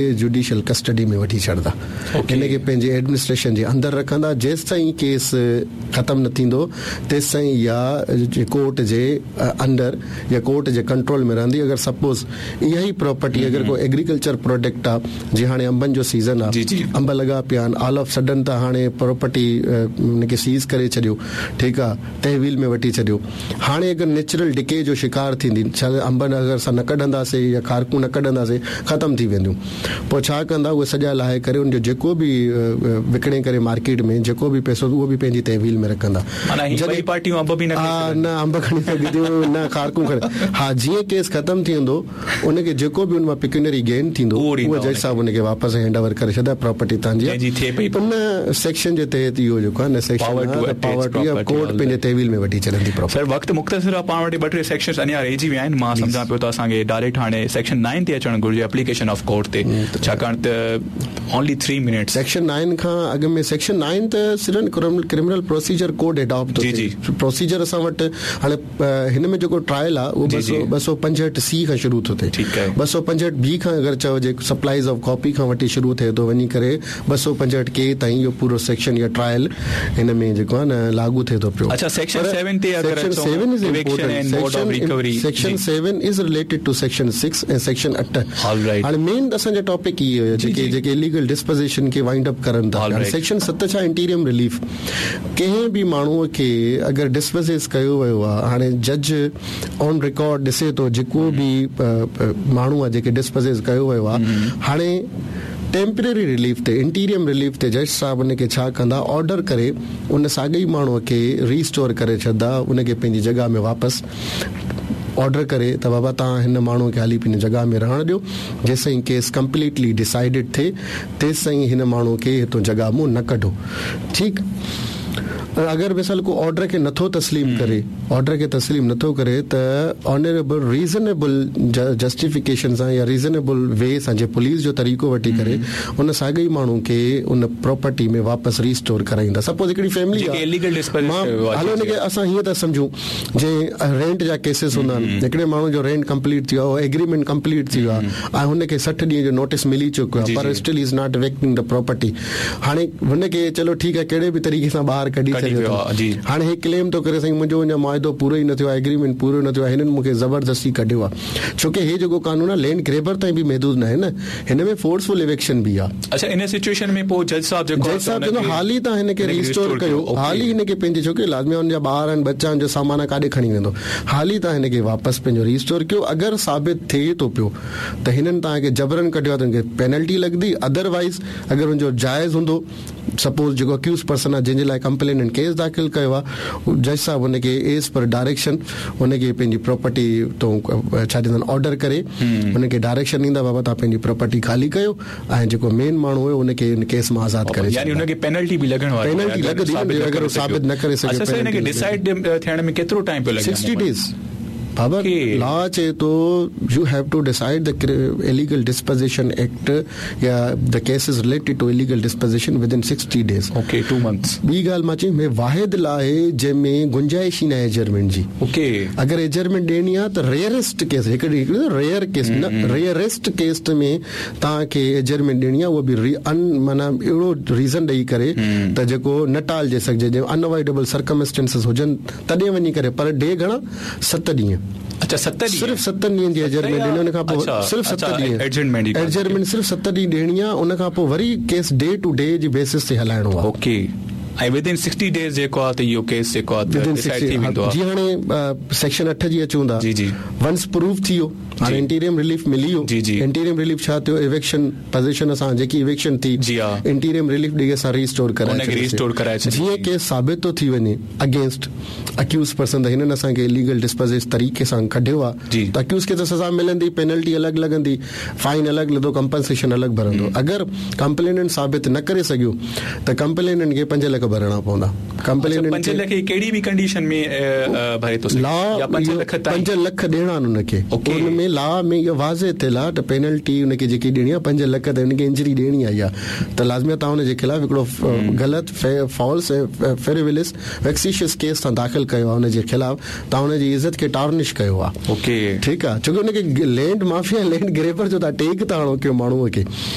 Judicial custody ۾ وٺي ڇڏندا. هن کي پنهنجي ايڊمنسٽريشن جي اندر رکندا جيستائين ڪيس ختم نه ٿيندو تيستائين اها ڪورٽ جي انڊر يا ڪورٽ جي ڪنٽرول ۾ رهندي اگر سپوز اها ئي پراپرٽي اگر ڪو ايگريڪلچر پراڊڪٽ آ جي هاڻي انبن جو سيزن آ انب لڳا پيا آهن آل آف سڊن ته هاڻي پراپرٽي ان کي سيز ڪري ڇڏيو ٺيڪ آ تحويل ۾ وٺي ڇڏيو هاڻي اگر نيچرل ڊڪي جو شڪار ٿيندي ڇا انب اگر اسان نه ڪڍنداسي يا کارڪون نه ڪڍنداسي ختم ٿي وينديون پوء ڇا ڪندا اهي سڄا لاهي ڪري ان جو جيڪو به وڪڻي ڪري مارڪيٽ ۾ جيڪو به پئسو اهو به پنهنجي تحويل ۾ رکندا معنيٰ هي ٻئي پارٽيون انب به نه کڻي سگهنديون نه انب کڻي سگهنديون نه کارڪون کڻي ها جيئن ڪيس ختم ٿي ويندو ان کي جيڪو به ان مان پيڪيونري گين ٿيندو اهو جج صاحب ان کي واپس هينڊ اوور ڪري ڇڏندا پراپرٽي تان جي ان سيڪشن جي تحت اهو جيڪو آهي نه سيڪشن پاور ٽو يا ڪورٽ پنهنجي تحويل ۾ وٺي ڇڏندي پراپرٽي. سر وقت مختصر آهي پاڻ وٽ ٻه ٽي سيڪشنز اڃا رهجي ويا آهن مان سمجهان پيو ته اسان کي ڊائريڪٽ هاڻي سيڪشن نائن تي اچڻ گهرجي اپليڪيشن آف ڪورٽ تي ڇاڪاڻ ته اونلي ٿري منٽس. سيڪشن نائن کان اڳ ۾ سيڪشن نائن ته صرف ڪرمنل پروسيجر ڪوڊ اڊاپٽ ٿو ٿئي پروسيجر اسان وٽ هاڻي هن ۾ جيڪو ٽرائل آ اهو 265 سي کان شروع ٿو ٿئي 265 بي کان اگر چئجي سپلائيز آف ڪاپي کان وٺي شروع ٿئي ٿو وڃي ڪري 265 ڪي تائين اهو پورو سيڪشن يا ٽرائل هن ۾ جيڪو آ نه لاڳو ٿئي ٿو پيو. اڇا سيڪشن سيون تي اگر اچون eviction and mode of recovery section 7 is related to section 6 ۽ section 8 هاڻي مين اسان جا ٽاپڪ اهي هيا جيڪي جيڪي اليگل ڊسپوزيشن کي وائنڊ اپ ڪرن ٿا سيڪشن 7 ڇا انٽيريم رليف ڪنهن به ماڻهوء کي اگر ڊسپوزيس ڪيو ويو آ هاڻي جج آن رڪارڊ ڏسي ٿو جيڪو به ماڻهو آ جيڪي ڊسپوزيس ڪيو ويو آ هاڻي ٽيمپرري رليف تي انٽيريم رليف تي جج صاحب ان کي ڇا ڪندا آرڊر ڪري ان ساڳئي ماڻهوء کي ريسٽور ڪري ڇڏدا ان کي پنهنجي جڳهه ۾ واپس آرڊر ڪري ته بابا توهان هن ماڻهوء کي هلي پنهنجي جڳهه ۾ رهڻ ڏيو جيسين ڪيس ڪمپليٽلي ڊسائيڊڊ ٿئي تيستائين هن ماڻهوء کي هتون جڳهه مون نه ڪڍو. ٺيڪ اگر مثال ڪو آرڊر کي نٿو تسليم ڪري آرڊر کي تسليم نٿو ڪري ته آنريبل ريزنيبل جسٽيفڪيشن سان يا ريزنيبل وي سان جي پوليس جو طريقو وٺي ڪري ان ساڳئي ماڻهو کي ان پراپرٽي ۾ واپس ريسٽور ڪرائيندا سپوز هڪڙي فيملي آ مان هلو ان کي اسان هيئن ٿا سمجهون جي رينٽ جا ڪيسز هوندا آهن هڪڙي ماڻهو جو رينٽ ڪمپليٽ ٿي ويو آهي ايگريمينٽ ڪمپليٽ ٿي ويو آهي ۽ هن کي 60 ڏينهن جو نوٽيس ملي چڪو آهي پر still he is not vacating the property هاڻي هن کي چلو ٺيڪ آهي ڪهڙي به طريقي سان ٻاهر ڪڍي ڇڏيو اٿن. هاڻي هي ڪليم ٿو ڪري سائين منهنجو اڃا معاهدو پورو ئي نه ٿيو آهي ايگريمينٽ پورو نه ٿيو آهي هنن مون کي زبردستي ڪڍيو آهي ڇو ڪي هي جيڪو قانون آهي لينڊ گريبر تائين به محدود ناهي نه هن ۾ فورس فل ايويڪشن به آهي. اڇا ان سچوئيشن ۾ پوء جج صاحب جيڪو جج صاحب چوندو حالي توهان هن کي ريسٽور ڪيو حالي هن کي پنهنجي ڇو ڪي لازمي هن جا ٻار آهن ٻچا آهن جو سامان آهي ڪاڏي کڻي ويندو حالي توهان هن کي واپس پنهنجو ريسٽور ڪيو اگر ثابت ٿئي ٿو پيو ته هنن توهان کي جبرن ڪڍيو آهي ته هن کي پينلٽي لڳندي ادر وائيز اگر ان جو جائز هوندو سپوز جيڪو اڪيوز پرسن آهي جنهن جي لاء ڪمپليننٽ ڪيس داخل ڪيو آهي جج صاحب ان کي ايز پر ڊائريڪشن ان کي پنهنجي پراپرٽي تون ڇا چوندا آهن آرڊر ڪري ان کي ڊائريڪشن ڏيندا بابا توهان پنهنجي پراپرٽي خالي ڪيو ۽ جيڪو مين ماڻهو هيو ان کي ان ڪيس مان آزاد ڪري يعني ان کي پينلٽي به لڳڻ واري پينلٽي لڳندي اگر ثابت نه ڪري سگهيو اڇا سر ان کي ڊسائيڊ ٿيڻ ۾ ڪيترو ٽائيم پيو لڳي 60 ڊيز بابا لا چئي ٿو you have to decide the illegal dispossession act يا the case is related to illegal dispossession within 60 days. Okay 2 months. ٻي ڳالهه مان چئي هي واحد لا آهي جنهن ۾ گنجائش ئي ناهي ايجرمينٽ جي. اوڪي. اگر ايجرمينٽ ڏيڻي آهي ته ريئرسٽ ڪيس هڪ ريئر ڪيس نه ريئرسٽ ڪيس ۾ توهان کي ايجرمينٽ ڏيڻي آهي اهو به ان معنيٰ اهڙو ريزن ڏئي ڪري ته جيڪو نه ٽالجي سگهجي جنهن ان اوائڊيبل سرڪمسٽنسز هجن تڏهن وڃي ڪري پر ڊي گهڻا ست ڏينهن. اڇا ست ڏينهن. صرف ستن ڏينهن جي ايجرمينٽ ڏني ان کان پوء صرف ست ڏينهن ايڊجرمينٽ صرف ست ڏينهن ڏيڻي آ ان کان پوء وري ڪيس ڊي ٽو ڊي جي بيسس تي هلائڻو آ. اوڪي ۽ ود ان 60 ڊيز جيڪو آ ته اهو ڪيس جيڪو آ ته ڊسائيڊ ٿي ويندو آ. جي هاڻي سيڪشن 8 جي اچون ٿا جي جي ونس پروف ٿي ويو هاڻي انٽيريم رليف ملي ويو جي جي انٽيريم رليف ڇا ٿيو ايويڪشن پوزيشن اسان جيڪي ايويڪشن ٿي جي ها انٽيريم رليف ڏئي اسان ريسٽور ڪرائي ان کي ريسٽور ڪرائي ڇڏيوسين جيئن ڪيس ثابت ٿو ٿي وڃي اگينسٽ اڪيوز پرسن ته هنن اسان کي اليگل ڊسپوزيس طريقي سان ڪڍيو آ ته اڪيوز کي ته سزا ملندي پينلٽي الڳ لڳندي فائن الڳ لڳندو ڪمپنسيشن الڳ ڀرندو اگر ڪمپليننٽ ثابت نه ڪري سگهيو ته ڪمپليننٽ کي 5 لک لک ڀرڻا پوندا. ڪمپليننٽ کي 5 لک ڪهڙي به ڪنڊيشن ۾ ڀري ٿو سگهي يا 5 لک تائين؟ 5 لک ڏيڻا آهن ان کي. ان ۾ لا ۾ اهو واضح ٿيل آهي ته پينلٽي ان کي جيڪي ڏيڻي آهي 5 لک تائين ان کي انجري ڏيڻي آهي اها ته لازمي آهي توهان ان جي خلاف هڪڙو غلط فالس ۽ فريولس ويڪسيشس ڪيس توهان داخل ڪيو آهي ان جي خلاف توهان ان جي عزت کي ٽارنش ڪيو آهي. ٺيڪ آهي ڇو ڪي ان کي لينڊ مافيا لينڊ گريبر جو توهان ٽيگ ٿا هڻو ڪنهن ماڻهو کي.